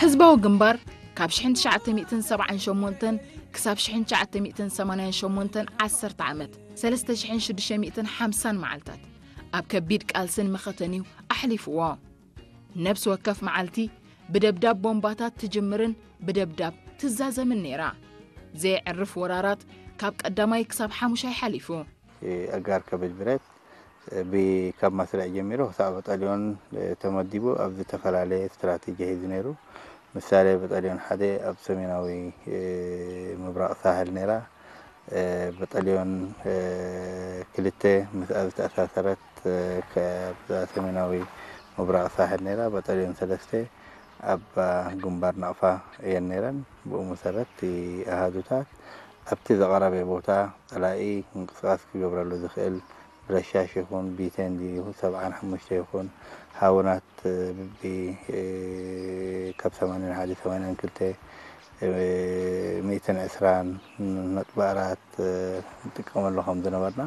ህዝባዊ ግንባር ካብ ሽሕን ትሽዓተ ሚእትን ሰብዓን ሸሞንተን ክሳብ ሽሕን ትሽዓተ ሚእትን ሰማንያን ሸሞንተን ዓሰርተ ዓመት፣ ሰለስተ ሽሕን ሽዱሽተ ሚእትን ሓምሳን መዓልታት፣ ኣብ ከቢድ ቃልስን መኸተን'ዩ ኣሕሊፍዎ። ነብሲ ወከፍ መዓልቲ ብደብዳብ ቦምባታት ትጅምርን ብደብዳብ ትዛዘምን ነይራ። ዘየዕርፍ ወራራት ካብ ቀዳማይ ክሳብ ሓሙሻይ ሓሊፉ። ኣጋር ከበድ ብረት ብ- ካብ መስርዕ ጀሚሩ ክሳብ በጠልዮን ተመዲቡ ኣብ ዝተፈላለየ ስትራቴጂ ሒዙ ነይሩ። ምሳሌ በጠልዮን ሓደ ኣብ ሰሜናዊ ምብራቕ ሳሕል ነይራ። በጠልዮን ክልተ ምስኣ ዝተኣሳሰረት ከ- ኣብዛ ሰሜናዊ ምብራቕ ሳሕል ነይራ። በጠልዮን ሰለስተ ኣብ ግንባር ናቕፋ እየን ነይረን። ብኡ መሰረት እቲ ኣሃዱታት ኣብቲ ዝቐረበ ቦታ ጸላኢ ምንቅስቓስ ክገብረሉ ዝኽእል ብረሻሽ ይኹን ቢቴን ድዩ ሰብዓን ሓሙሽተ ይኹን ሃውናት ብቢ ካብ ሰማንያን ሓደ ሰማንያን ክልተ ሚእትን ዕስራን ነጥቢ ኣራት ንጥቀመሉ ከም ዝነበርና